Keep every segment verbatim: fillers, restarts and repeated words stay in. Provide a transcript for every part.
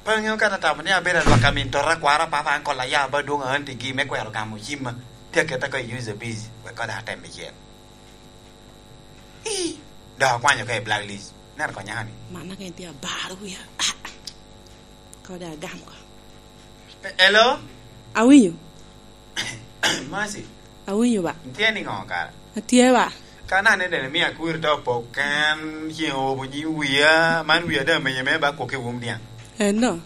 Pe ŋeo ka atamo ni abedo alwak amin tota kwara papa ankol aya ba dwoŋ aantigi me kwero gamo cimma. Tye aketa ko i user busy, wek kode atem icel. Ii, dok akwanyo ka i blacklist. Neno ko nyaka ni. Mana ka en tye abaro wia. Ah, kode agam ko. E-, hello? Awinyo. Mercy. Awinyo ba. Itye niŋo kara? Atye ba. Ka na ne dene mi akwiri to pok ken cieŋ obo nyi wia, man wia da menye me ba kok i wum diaŋ. Eno.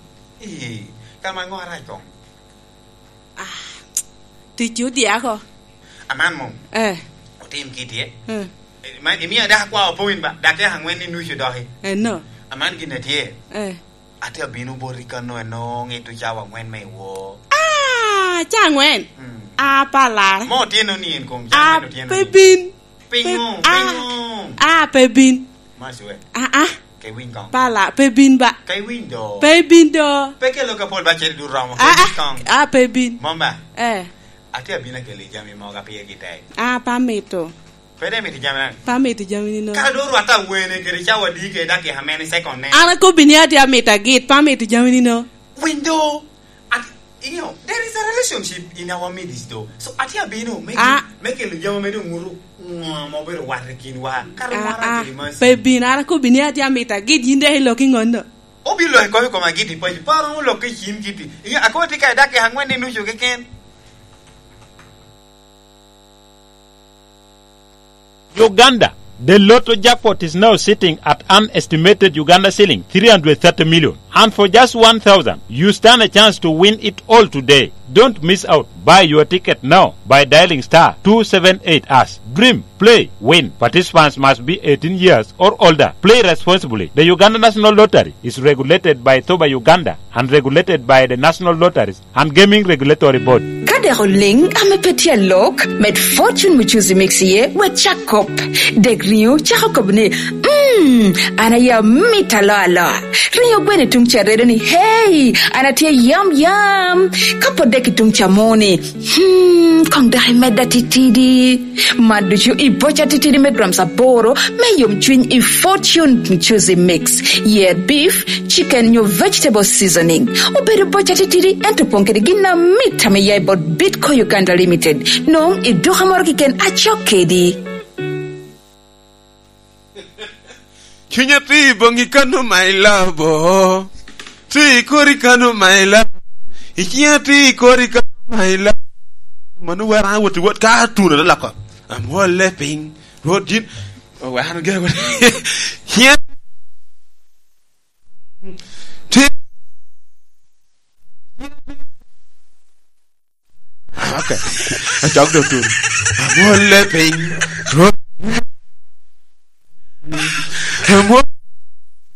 Ii, ka ma ŋo arac koŋ? Ah, tic odyako. Aman mom. Eh. Otim kiti, eh? Eh. Ma, imio dako kwa opowin ba, dake aŋwen ni nucu doki. Eno. Aman gin atye. Eh. Ate abino boti kano eno ŋito cawa aŋwen me iwo. Ah, ca aŋwen? Mm. Ah, palar. Mo otyeno ni en kong, ca Ah, aŋwen otyeno pe ni. Bin. Pinyo, Pe-, ah, pinyo. Ah, pe bin. Mac we. Ah, ah. Ke winy kong. Pala, pe bin ba. Ke winy do. Pe bin do. Pe kelo ka pol ba ceri du romo. Ke Ah, winy ah. Kong. Ah, pe bin. Mom ba? Eh. Ate abino akeli jami mogo a pire gi tek. Ah, pa mito. Pe de mito jami na. Pa mito jami ni no. Ka do rwata wene kede cawa di ke dak ya many second ne. An akobbi ni ate amito agit, pa mito jami ni no. Window. At, you know, there is a relationship in our midst though. So ate abino me Ah. Me kelo jami me dong ŋuto ŋo ma obedo wat i kinwa. Kara Ah, wara ah. Kede Mercy. Pe bin, an akobbi ni ate amito agit, yin dek ilok i ŋonno. Obilo i kom i kom agit i paco. Paro ŋo lok i cim kiti. Iya, akobo tye ka i dak ya aŋwen ni nucu keken. Uganda, the lotto jackpot is now sitting at an estimated Uganda shilling three hundred thirty million. And for just one thousand, you stand a chance to win it all today. Don't miss out. Buy your ticket now by dialing star two seven eight hash. Dream, play, win. Participants must be eighteen years or older. Play responsibly. The Uganda National Lottery is regulated by Thoba Uganda and regulated by the National Lotteries and Gaming Regulatory Board. Ka dek oliŋ ame pe tye alok, med Fortune Muchuzi Mix iye, wek cak kop. Dek riŋo cako kop ni, "Mm, an aye amit aloa aloa." Riŋo gweno i tuŋ ca redo ni, "Hey, an atye yam yam." Ka pot dek i tuŋ ca mo ni, "Hmm, koŋ dok imedda titidi." Man ducu i boca titidi me grams aboro me yomcwiny i Fortune Muchuzi Mix. Yer beef, chicken nyo vegetable seasoning. Obedo boca titidi, ento opong kede gin amit ame ya i bot Bitco Uganda Limited. Nong i duka moro keken acok kedi. Cunya tye i boŋi kano, my love, oh. Tye i kori kano, my love. I ciŋa tye i kori kano, my love. Mano wera an awot i wot ka atuno te loko. Amwolle piny. Rwot yin. Oh, wek an oge wot. Ciŋa tye. Okay. Acok dok tuno. Amwolle piny. Rwot